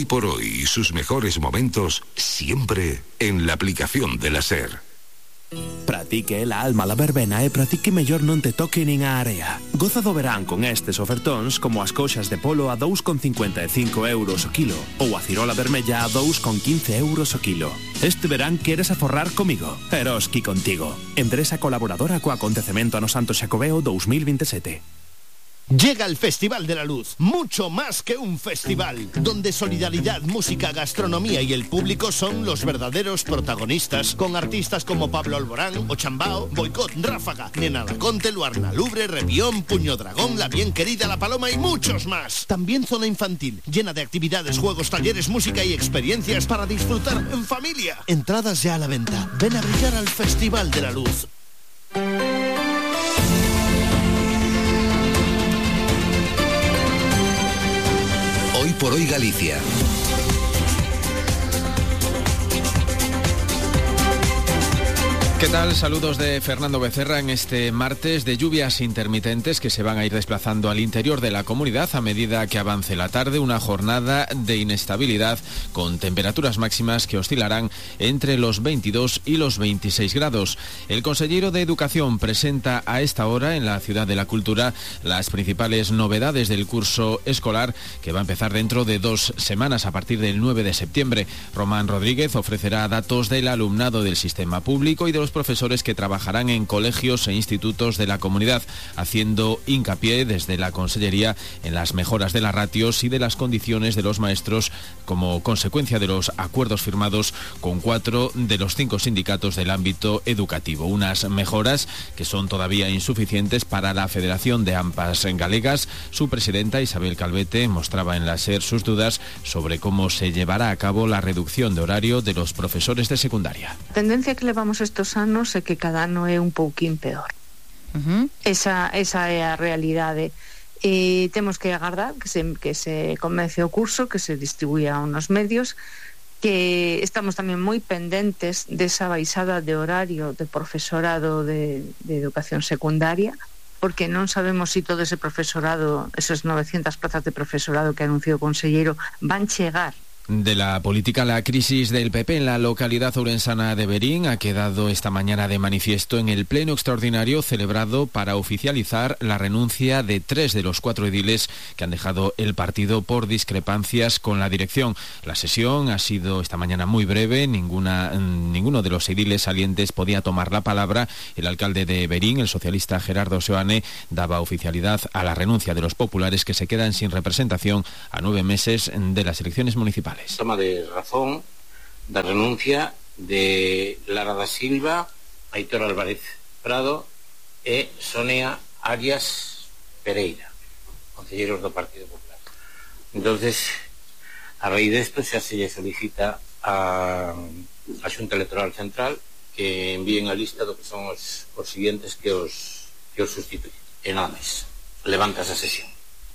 por hoy y sus mejores momentos siempre en la aplicación de la SER. Pratique la alma la verbena e pratique mellor non te toque nin a area. Goza do verán con estes ofertóns como as coxas de polo a 2,55 euros o kilo ou a cirola vermella a 2,15 euros o kilo. Este verán queres aforrar comigo? Eroski contigo. Empresa colaboradora co acontecemento ano Santo Xacobeo 2027. Llega el Festival de la Luz, mucho más que un festival, donde solidaridad, música, gastronomía y el público son los verdaderos protagonistas, con artistas como Pablo Alborán, Ochambao, Boicot, Ráfaga, Nena Laconte, Luarna Lubre, Revión, Puño Dragón, La Bien Querida, La Paloma y muchos más. También zona infantil, llena de actividades, juegos, talleres, música y experiencias para disfrutar en familia. Entradas ya a la venta. Ven a brillar al Festival de la Luz. Hoy por hoy Galicia. ¿Qué tal? Saludos de Fernando Becerra en este martes de lluvias intermitentes que se van a ir desplazando al interior de la comunidad a medida que avance la tarde, una jornada de inestabilidad con temperaturas máximas que oscilarán entre los 22 y los 26 grados. El consejero de Educación presenta a esta hora en la Ciudad de la Cultura las principales novedades del curso escolar que va a empezar dentro de 2 semanas a partir del 9 de septiembre. Román Rodríguez ofrecerá datos del alumnado del sistema público y de los profesores que trabajarán en colegios e institutos de la comunidad, haciendo hincapié desde la Consellería en las mejoras de las ratios y de las condiciones de los maestros como consecuencia de los acuerdos firmados con 4 de los 5 sindicatos del ámbito educativo. Unas mejoras que son todavía insuficientes para la Federación de AMPAs Galegas. Su presidenta Isabel Calvete mostraba en la SER sus dudas sobre cómo se llevará a cabo la reducción de horario de los profesores de secundaria. A tendencia que levamos estos anos é que cada ano é un pouquín peor. Esa é a realidade. E temos que agardar que se comece o curso, que se distribuya unos medios, que estamos tamén moi pendentes desa baixada de horario de profesorado de educación secundaria, porque non sabemos se todo ese profesorado, esas 900 plazas de profesorado que anunció o conselleiro, van chegar. De la política, la crisis del PP en la localidad ourensana de Verín ha quedado esta mañana de manifiesto en el pleno extraordinario celebrado para oficializar la renuncia de 3 de los 4 ediles que han dejado el partido por discrepancias con la dirección. La sesión ha sido esta mañana muy breve, ninguno de los ediles salientes podía tomar la palabra. El alcalde de Verín, el socialista Gerardo Seoane, daba oficialidad a la renuncia de los populares que se quedan sin representación a 9 meses de las elecciones municipales. Toma de razón da renuncia de Lara da Silva, Aitor Álvarez Prado e Sonia Arias Pereira, concelleiros do Partido Popular. Entonces, a raíz desto xa se lle solicita a Xunta Electoral Central que envíen a lista do que son os siguientes que os sustituyen. E nada máis. Levanta esa sesión.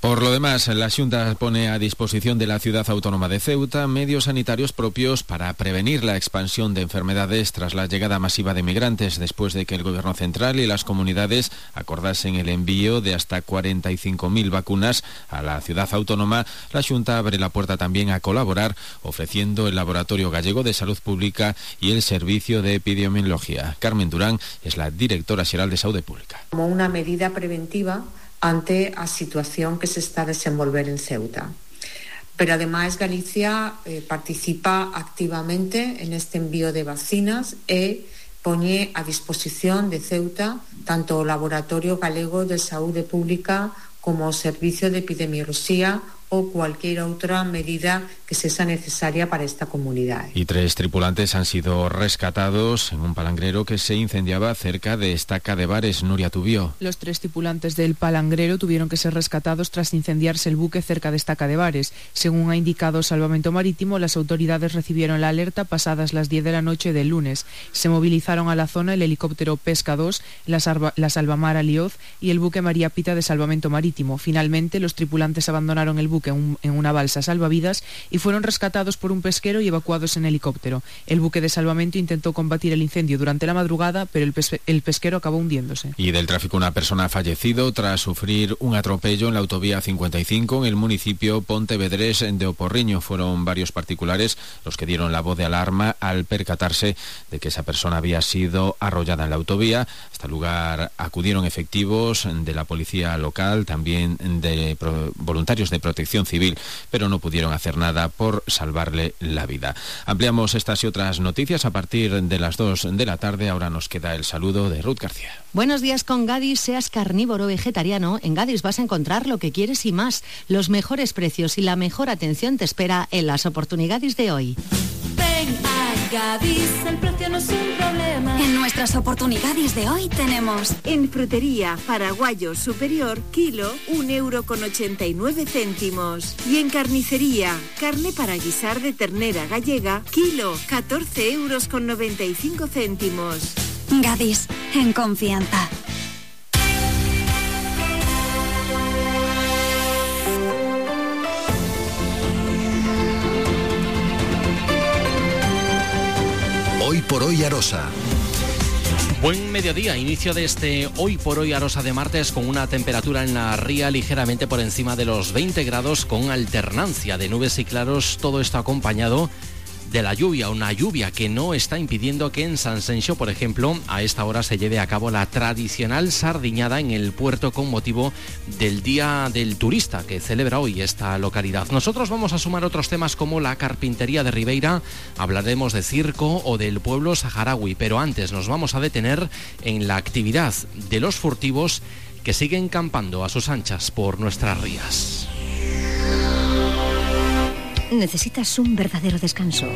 Por lo demás, la Xunta pone a disposición de la Ciudad Autónoma de Ceuta medios sanitarios propios para prevenir la expansión de enfermedades tras la llegada masiva de migrantes, después de que el Gobierno central y las comunidades acordasen el envío de hasta 45.000 vacunas a la Ciudad Autónoma. La Xunta abre la puerta también a colaborar, ofreciendo el Laboratorio Gallego de Salud Pública y el Servicio de Epidemiología. Carmen Durán es la directora xeral de Saúde Pública. Como una medida preventiva ante a situación que se está a desenvolver en Ceuta. Pero ademais Galicia participa activamente en este envío de vacinas e poñe a disposición de Ceuta tanto o Laboratorio Galego de Saúde Pública como o Servicio de Epidemioloxía o cualquier outra medida que sea necesaria para esta comunidad. Y 3 tripulantes han sido rescatados en un palangrero que se incendiaba cerca de Estaca de Bares. Nuria Tubío. Los 3 tripulantes del palangrero tuvieron que ser rescatados tras incendiarse el buque cerca de Estaca de Bares. Según ha indicado Salvamento Marítimo, las autoridades recibieron la alerta pasadas las 10 de la noche del lunes. Se movilizaron a la zona el helicóptero Pesca 2, la Salvamar Alioz y el buque María Pita de Salvamento Marítimo. Finalmente, los tripulantes abandonaron el buque buque en una balsa salvavidas y fueron rescatados por un pesquero y evacuados en helicóptero. El buque de salvamento intentó combatir el incendio durante la madrugada, pero el pesquero acabó hundiéndose. Y del tráfico, una persona ha fallecido tras sufrir un atropello en la autovía 55 en el municipio pontevedrés de Oporriño. Fueron varios particulares los que dieron la voz de alarma al percatarse de que esa persona había sido arrollada en la autovía. Hasta el lugar acudieron efectivos de la policía local, también de voluntarios de protección civil, pero no pudieron hacer nada por salvarle la vida. Ampliamos estas y otras noticias a partir de las 2 de la tarde. Ahora nos queda el saludo de Ruth García. Buenos días con Gadis. Seas carnívoro o vegetariano, en Gadis vas a encontrar lo que quieres y más. Los mejores precios y la mejor atención te espera en las oportunidades de hoy. Ven a Gadis, el precio no es un problema. En nuestras oportunidades de hoy tenemos en frutería Paraguayo Superior, kilo 1,89 €. Y en carnicería, carne para guisar de ternera gallega, kilo 14,95 €. Gadis, en confianza. Hoy por hoy Arosa. Buen mediodía, inicio de este Hoy por Hoy Arosa de martes con una temperatura en la ría ligeramente por encima de los 20 grados con alternancia de nubes y claros, todo esto acompañado de la lluvia, una lluvia que no está impidiendo que en San Senxo, por ejemplo, a esta hora se lleve a cabo la tradicional sardiñada en el puerto con motivo del Día del Turista que celebra hoy esta localidad. Nosotros vamos a sumar otros temas como la carpintería de Ribeira, hablaremos de circo o del pueblo saharaui, pero antes nos vamos a detener en la actividad de los furtivos que siguen campando a sus anchas por nuestras rías. ¿Necesitas un verdadero descanso?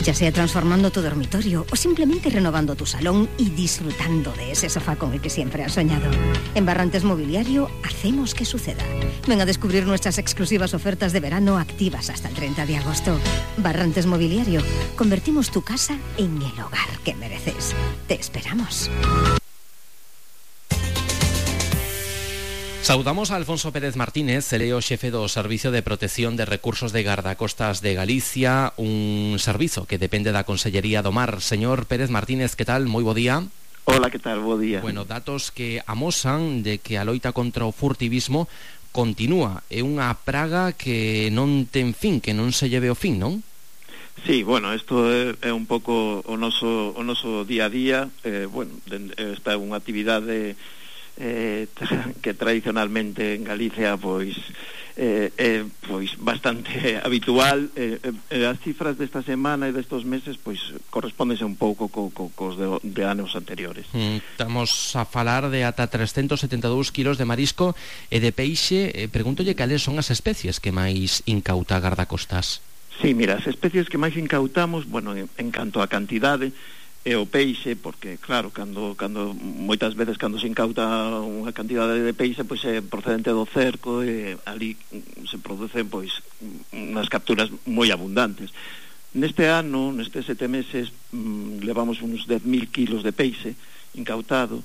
Ya sea transformando tu dormitorio o simplemente renovando tu salón y disfrutando de ese sofá con el que siempre has soñado. En Barrantes Mobiliario hacemos que suceda. Ven a descubrir nuestras exclusivas ofertas de verano activas hasta el 30 de agosto. Barrantes Mobiliario. Convertimos tu casa en el hogar que mereces. Te esperamos. Saudamos a Alfonso Pérez Martínez, eleo xefe do Servicio de Protección de Recursos de Gardacostas de Galicia, un servizo que depende da Consellería do Mar. Señor Pérez Martínez, que tal? Moi bo día. Hola, que tal? Bo día. Bueno, datos que amosan de que a loita contra o furtivismo continúa. É unha praga que non ten fin, que non se lleve o fin, non? Sí, bueno, isto é un pouco o noso día a día. Esta é unha actividade que tradicionalmente en Galicia pois bastante habitual. As cifras desta semana e destos meses pois correspóndense un pouco cos de anos anteriores. Estamos a falar de ata 372 kilos de marisco e de peixe. Pregúntolle cales son as especies que máis incauta Gardacostas. Sí, mira, as especies que máis incautamos, bueno, en canto a cantidade, é o peixe, porque claro, cando moitas veces cando se incauta unha cantidade de peixe, pois é procedente do cerco e ali se producen pois unhas capturas moi abundantes. Neste ano, nestes 7 meses, levamos uns 10.000 kilos de peixe incautado.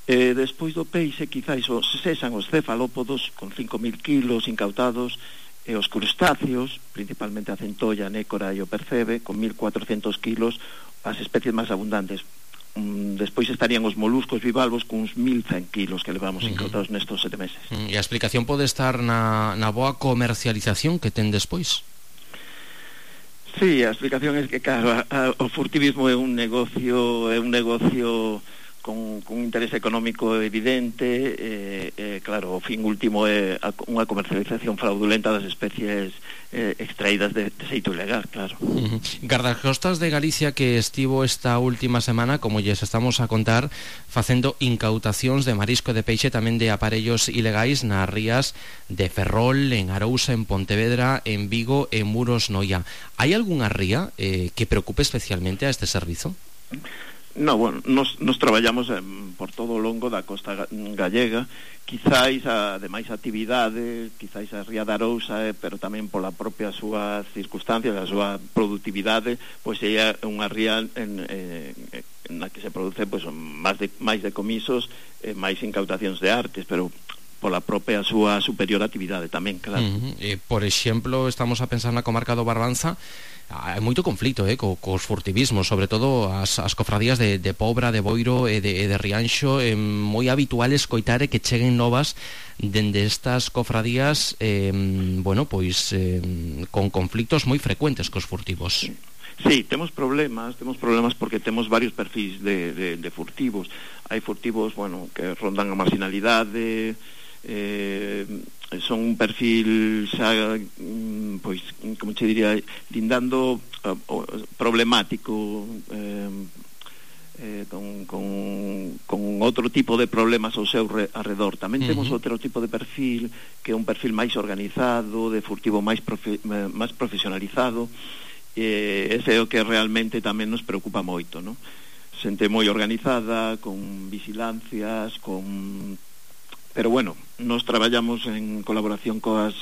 Despois do peixe, quizáis cesan os cefalópodos con 5.000 kilos incautados, e os crustáceos, principalmente a centolla, a nécora e o percebe, con 1.400 kilos, as especies máis abundantes. Despois estarían os moluscos bivalvos con uns 1.100 kilos que levamos incautados nestos 7 meses. E a explicación pode estar na boa comercialización que ten despois? Sí, a explicación é que, claro, o furtivismo é un negocio con interés económico evidente, claro, o fin último é unha comercialización fraudulenta das especies extraídas de xeito ilegal, claro. Gardacostas de Galicia que estivo esta última semana, como lles estamos a contar, facendo incautacións de marisco e de peixe, tamén de aparellos ilegais nas rías de Ferrol, en Arousa, en Pontevedra, en Vigo e en Muros, Noia. Hai algunha ría que preocupe especialmente a este servizo? No, bueno, nos traballamos por todo o longo da costa gallega, quizáis ademais actividade, quizáis a ría de Arousa, pero tamén pola propia súa circunstancia, a súa productividade, pois é unha ría na que se produce pois máis decomisos, máis incautacións de artes, pero pola propia súa superior actividade tamén, claro. Por exemplo, estamos a pensar na comarca do Barbanza, hai moito conflito cos furtivismos, sobre todo as cofradías de Pobra, de Boiro e de Rianxo. Moi habitual escoitar que cheguen novas dende estas cofradías con conflictos moi frecuentes cos furtivos. Sí, temos problemas porque temos varios perfis de furtivos. Hai furtivos, que rondan a marginalidade, son un perfil xa, pois, como che diría, lindando problemático, con outro tipo de problemas ao seu arredor. Tamén temos outro tipo de perfil, que é un perfil máis organizado, de furtivo máis profesionalizado. Ese é o que realmente tamén nos preocupa moito, non? Xente moi organizada, con vigilancias, pero nos traballamos en colaboración cos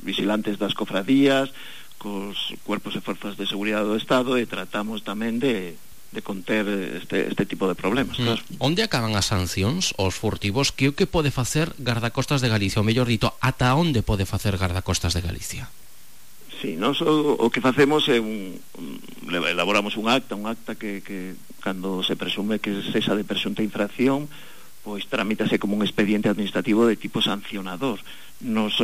vigilantes das cofradías, cos cuerpos e forzas de seguridade do Estado, e tratamos tamén de conter este tipo de problemas, claro. Onde acaban as sancións aos furtivos? Que o que pode facer Gardacostas de Galicia? Ou mellor dito, ata onde pode facer Gardacostas de Galicia? Sí, nós o que facemos é elaboramos un acta que cando se presume que cesa de presunta infracción, pois tramítase como un expediente administrativo de tipo sancionador. Nos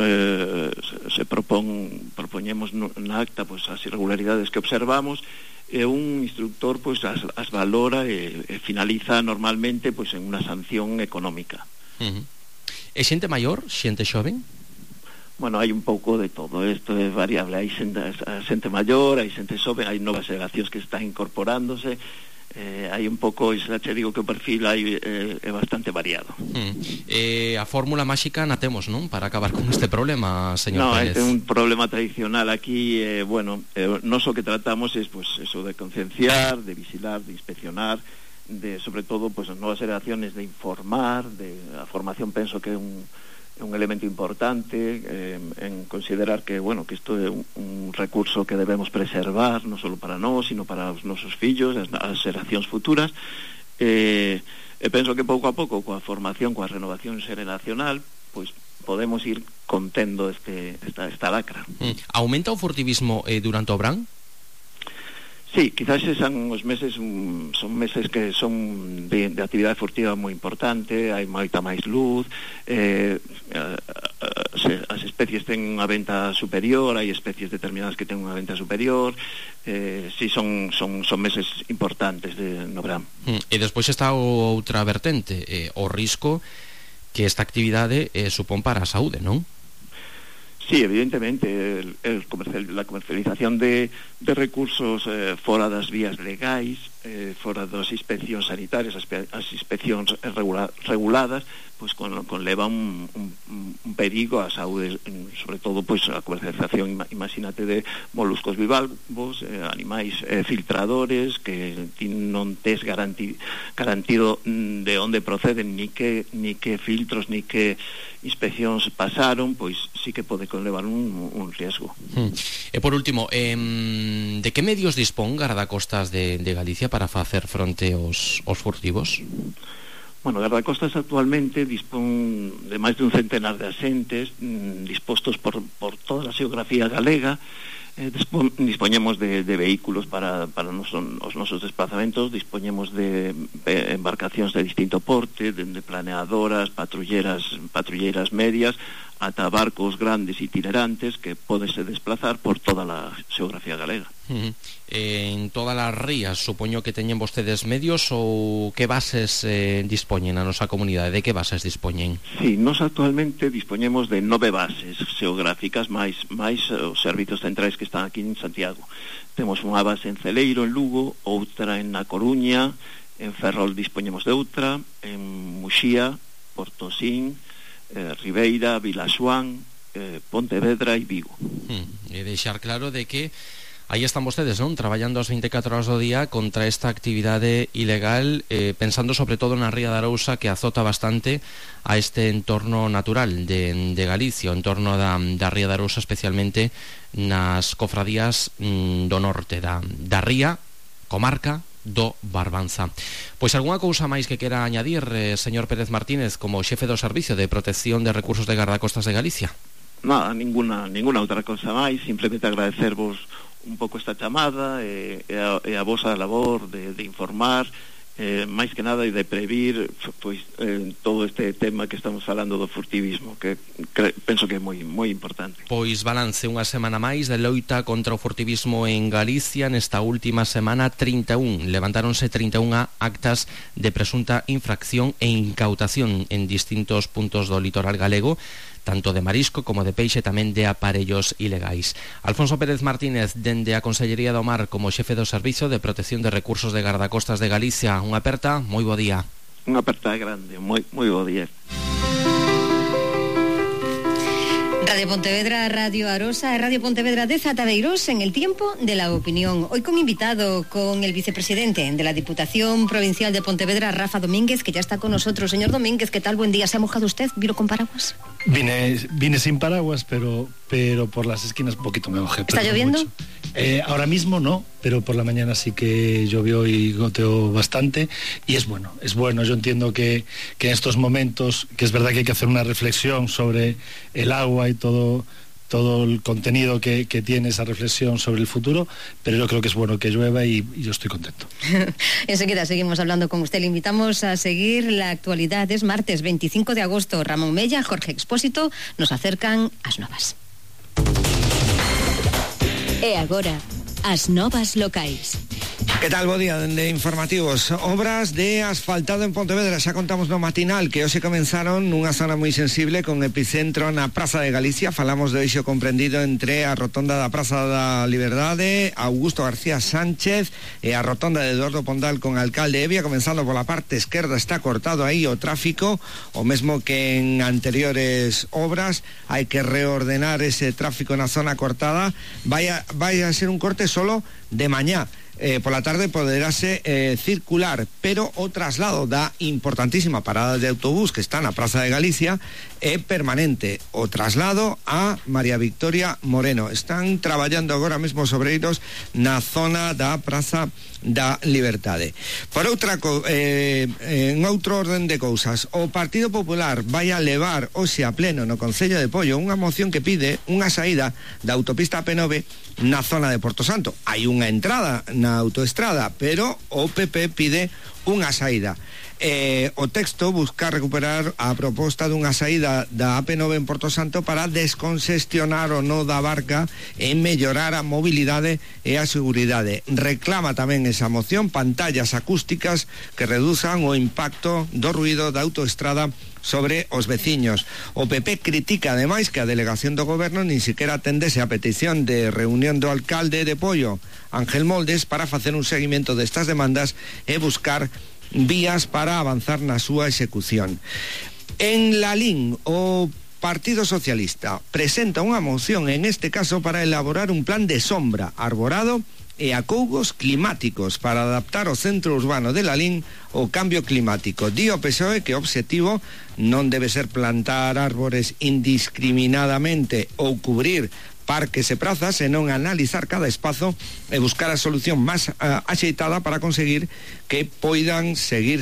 propoñemos na acta pois as irregularidades que observamos, e un instructor pois as valora e finaliza normalmente pois en unha sanción económica. É xente maior, xente xoven? Hai un pouco de todo, isto é variable, hai xente maior, hai xente xoven, hai novas xeracións que están incorporándose, hai un pouco, xa che digo que o perfil é bastante variado. A fórmula máxica na temos, non? Para acabar con este problema, señor Pérez. É un problema tradicional aquí, nós o que tratamos é eso de concienciar, de vigilar, de inspeccionar, de, sobre todo, as novas xeraciones, de informar, a formación penso que é un elemento importante, en considerar que isto é un recurso que debemos preservar, non só para nós, sino para os nosos fillos, as xeracións futuras, e penso que pouco a pouco, coa formación, coa renovación xeracional, pois podemos ir contendo esta lacra. Aumenta o furtivismo durante o verán? Sí, quizás son os meses, son meses que son de actividade furtiva moi importante, hai moita máis luz, as especies ten unha venta superior, hai especies determinadas que ten unha venta superior, sí, son meses importantes no verán. E despois está outra vertente, o risco que esta actividade supón para a saúde, non? Sí, evidentemente, la comercialización de recursos fora das vías legais, fora das inspeccións sanitarias, as inspeccións reguladas, pois conleva un perigo á saúde, sobre todo pois a comercialización, imagínate, de moluscos bivalvos, animais filtradores que non tes garantido de onde proceden, ni que filtros, ni que inspeccións pasaron, pois sí que pode conlevar un riesgo. E por último, de que medios dispón Gardacostas de Galicia para facer fronte aos furtivos? Gardacostas actualmente dispón de máis de un centenar de axentes dispostos por toda a xeografía galega. Dispoñemos de vehículos para os nosos desplazamentos, dispoñemos de embarcacións de distinto porte, de planeadoras, patrulleiras medias, ata barcos grandes itinerantes que podense desplazar por toda a xeografía galega. En todas as rías, supoño que teñen vostedes medios, ou que bases dispoñen a nosa comunidade? De que bases dispoñen? Sí, nos actualmente dispoñemos de 9 bases xeográficas, máis os servizos centrais que están aquí en Santiago. Temos unha base en Celeiro, en Lugo, outra en A Coruña, en Ferrol dispoñemos de outra, en Muxía, Portosín, Ribeira, Vilaxoán, Pontevedra e Vigo. E deixar claro de que aí están vostedes, non? Traballando as 24 horas do día contra esta actividade ilegal, pensando sobre todo na Ría de Arousa, que azota bastante a este entorno natural de Galicia, o entorno da Ría de Arousa, especialmente nas cofradías do norte da ría, comarca do Barbanza. Pois algunha cousa máis que quera añadir, señor Pérez Martínez, como xefe do Servicio de Protección de Recursos de Gardacostas de Galicia? Nada, ninguna outra cousa máis, simplemente agradecervos un pouco esta chamada e a vosa labor de informar, máis que nada, e de previr pois todo este tema que estamos falando do furtivismo, que penso que é moi importante. Pois balance unha semana máis de loita contra o furtivismo en Galicia. Nesta última semana levantáronse 31 actas de presunta infracción e incautación en distintos puntos do litoral galego, tanto de marisco como de peixe, tamén de aparellos ilegais. Alfonso Pérez Martínez, dende a Consellería do Mar como xefe do Servicio de Protección de Recursos de Gardacostas de Galicia, unha aperta, moi bo día. Unha aperta grande, moi bo día. Radio Pontevedra, Radio Arosa, Radio Pontevedra de Zatadeiros en el tiempo de la opinión. Hoy con invitado, con el vicepresidente de la Diputación Provincial de Pontevedra, Rafa Domínguez, que ya está con nosotros. Señor Domínguez, ¿qué tal? Buen día. ¿Se ha mojado usted? ¿Vino con paraguas? Vine sin paraguas, pero por las esquinas un poquito me mojé. ¿Está lloviendo? Ahora mismo no, pero por la mañana sí que llovió y goteó bastante, y es bueno. Yo entiendo que en estos momentos, que es verdad que hay que hacer una reflexión sobre el agua y todo el contenido que tiene esa reflexión sobre el futuro, pero yo creo que es bueno que llueva y yo estoy contento. Enseguida seguimos hablando con usted. Le invitamos a seguir la actualidad. Es martes 25 de agosto. Ramón Mella, Jorge Expósito nos acercan as novas. E agora, as novas locais. Que tal, bo día, dende informativos. Obras de asfaltado en Pontevedra, xa contamos no matinal que hoxe comenzaron nunha zona moi sensible con epicentro na Praza de Galicia. Falamos do eixo comprendido entre a rotonda da Praza da Liberdade, Augusto García Sánchez e a rotonda de Eduardo Pondal con Alcalde Evia. Comenzando pola parte esquerda, está cortado aí o tráfico, o mesmo que en anteriores obras. Hai que reordenar ese tráfico na zona cortada. Vai a ser un corte solo de mañá. Por la tarde poderase circular, pero o traslado da importantísima parada de autobús que está na Praza de Galicia é permanente. O traslado a María Victoria Moreno. Están traballando agora mesmo os obreiros na zona da Praza da Liberdade. Por en outro orden de cousas, o Partido Popular vai a levar hoxe a pleno no Concello de Pollo unha moción que pide unha saída da autopista P9 na zona de Porto Santo. Hai unha entrada na autoestrada, pero o PP pide unha saída. O texto busca recuperar a proposta dunha saída da AP9 en Porto Santo para descongestionar o nó da Barca e mellorar a mobilidade e a seguridade. Reclama tamén esa moción pantallas acústicas que reduzan o impacto do ruído da autoestrada sobre os veciños. O PP critica ademais que a delegación do goberno nin siquiera atendese a petición de reunión do alcalde de Pollo, Ángel Moldes, para facer un seguimento destas demandas e buscar vías para avanzar na súa execución. En Lalín, o Partido Socialista presenta unha moción, en este caso para elaborar un plan de sombra, arborado e acougos climáticos para adaptar o centro urbano de Lalín ao cambio climático. Di o PSOE que o obxectivo non debe ser plantar árbores indiscriminadamente ou cubrir parques e prazas, senón analizar cada espazo e buscar a solución máis axeitada para conseguir que poidan seguir